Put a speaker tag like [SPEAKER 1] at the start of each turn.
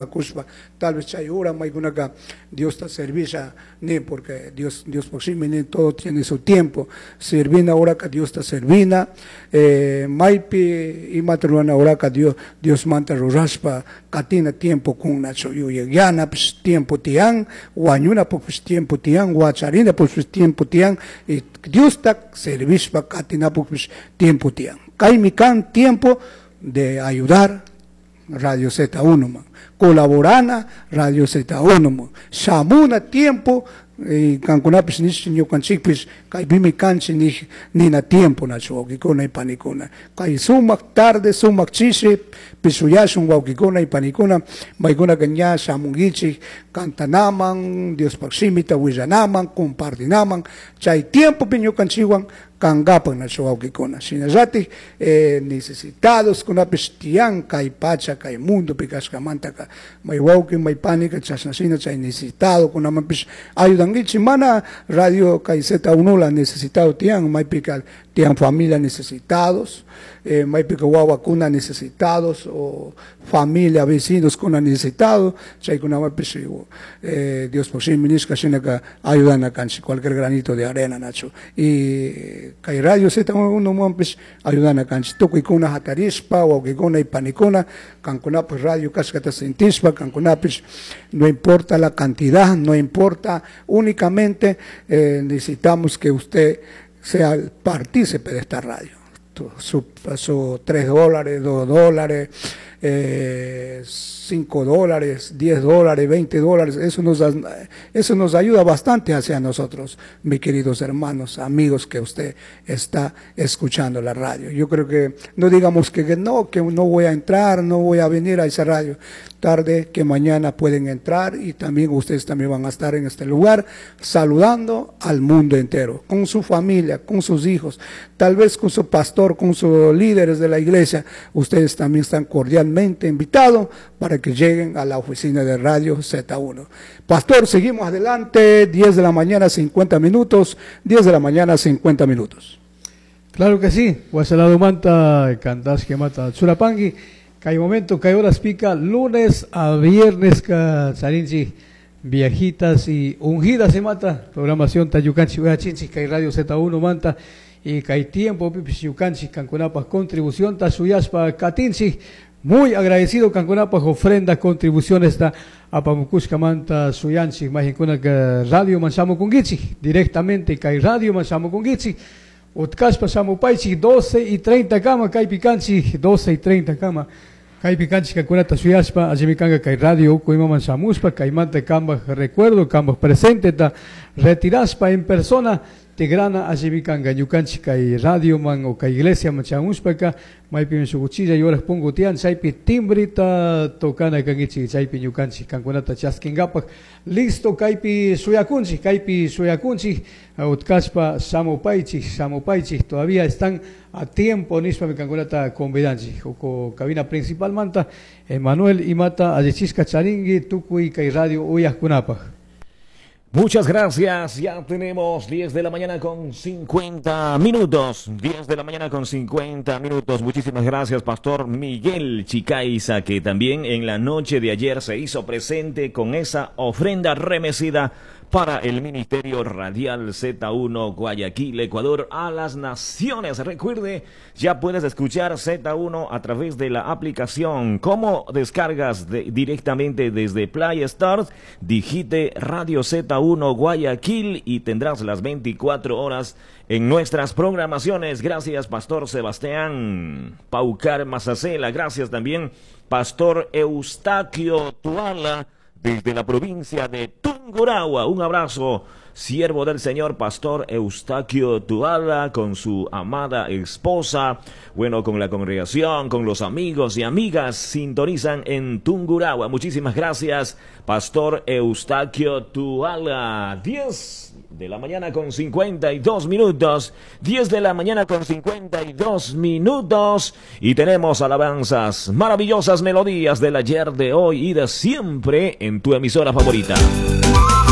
[SPEAKER 1] Kushpa tal vez chay hora maykunaka Diosta servisha nin, porque Diospaj shimi nin, todo tiene su tiempo. Servina horaka Diosta servina, maypi imata rurana horaka Diosmanta rurashpa katina tiempo kunachu, yuyayanapish tiempo tiyan, wañunapukpish tiempo tiyan, wacharinapukpish tiempo tiyan, y Diosta servishpa katinapukpish tiempo tiyan. Kaymi kan tiempo de ayudar Radio Z1 man, colaborana Radio Z1 man, shamuna tiempo, kankunapish nish ñukanchikpish kaypimi kanchik nij nina tiempo nachu wawkikuna y panikuna. Kay sumak tarde, sumak chishi pishuyashun wawkikuna y panikuna, maykunaka ña shamunkichik cantanaman, Diospaj shimita willanaman, compartinaman, chay tiempopi ñukanchikwan kankapak nachu wawkikuna. Shinallatik necesitados kunapish tiyan kay pacha, kay mundopi kashkamantaka, may wawki, may panika chashna shina chay necesitado kunamanpish ayudankichik. Mana radio kay Z1 la necesitado tiyan, maypika tiyan familia necesitados, maypika wawakuna necesitados, o familia, vecinos kuna necesitado, chaykunamanpish Diospaj shimi nishka shinaka ayudana kanchik, cualquier granito de arena nachu. Y kay Radio Z1 manpish ayudana kanchik, tukuykuna hatarishpa, wawkikuna y panikuna, kankunapish radio kashkata sentishpa, kankunapish no importa la cantidad, no importa, únicamente necesitamos que usted sea el partícipe de esta radio. Su $3, $2, $5, $10, $20, eso nos ayuda bastante hacia nosotros, mis queridos hermanos, amigos que usted está escuchando la radio. Yo creo que no digamos que no voy a entrar, no voy a venir a esa radio. Tarde que mañana pueden entrar y también ustedes también van a estar en este lugar saludando al mundo entero, con su familia, con sus hijos, tal vez con su pastor, con sus líderes de la iglesia. Ustedes también están cordialmente invitados para que lleguen a la oficina de Radio Z1. Pastor, seguimos adelante, 10 de la mañana, 50 minutos, 10 de la mañana, 50 minutos.
[SPEAKER 2] Claro que sí, Guasalado Manta, Cantas que mata Churapangui, que hay momento, que hay horas pica, lunes a viernes, charinchi, viejitas y ungidas se mata, programación Tayucanchi, Uachinchi, que hay Radio Z1 Manta, y que hay tiempo, pipis yucanchi, cancunapa, contribución, tasuyaspa, katinchi, muy agradecido cancunapa, ofrenda, contribución esta, apamucushka manta, suyanchi, majincuna que Radio Manchamo Kungichi, directamente que hay Radio Manchamo Kungichi, Utkashpa shamupaychik 12:30 kama, kaypi kanchik 12:30 kama, kaypi kanchik kankunata suyashpa, allimi kanka kay radio uku imaman shamushpa, kaymanta kambaj recuerdo, kambaj presente ta retirashpa en persona, tigrana allimi kanka ñukanchik kay radio man o kay iglesia man shamushpaka, maypimi shuk uchilla yoraj punku tiyan, chaypi timbrita tocana kankichik, chaypi ñukanchik kankunata chaskinkapak, listo kaypi suyakunchik, kaypi suyakunchik, utkashpa shamupaychik, shamupaychik, todavía están a tiempo nishpami kankunata convidanchik, uku cabina principal manta, Emanuel imata allichisqa charinki tukuy kay radio uyajkunapaj.
[SPEAKER 3] Muchas gracias, ya tenemos 10 de la mañana con 50 minutos, 10 de la mañana con 50 minutos. Muchísimas gracias, Pastor Miguel Chicaiza, que también en la noche de ayer se hizo presente con esa ofrenda remecida para el Ministerio Radial Z1 Guayaquil, Ecuador, a las naciones. Recuerde, ya puedes escuchar Z1 a través de la aplicación. ¿Cómo descargas directamente desde Play Store? Digite Radio Z1 Guayaquil y tendrás las 24 horas en nuestras programaciones. Gracias, Pastor Sebastián Paucar Mazacela. Gracias también, Pastor Eustaquio Tuala, desde la provincia de Tungurahua. Un abrazo, siervo del Señor, Pastor Eustaquio Tuala, con su amada esposa, bueno, con la congregación, con los amigos y amigas, sintonizan en Tungurahua. Muchísimas gracias, Pastor Eustaquio Tuala. 10 de la mañana con 52 minutos, 10 de la mañana con 52 minutos, y tenemos alabanzas, maravillosas melodías del ayer, de hoy y de siempre en tu emisora favorita.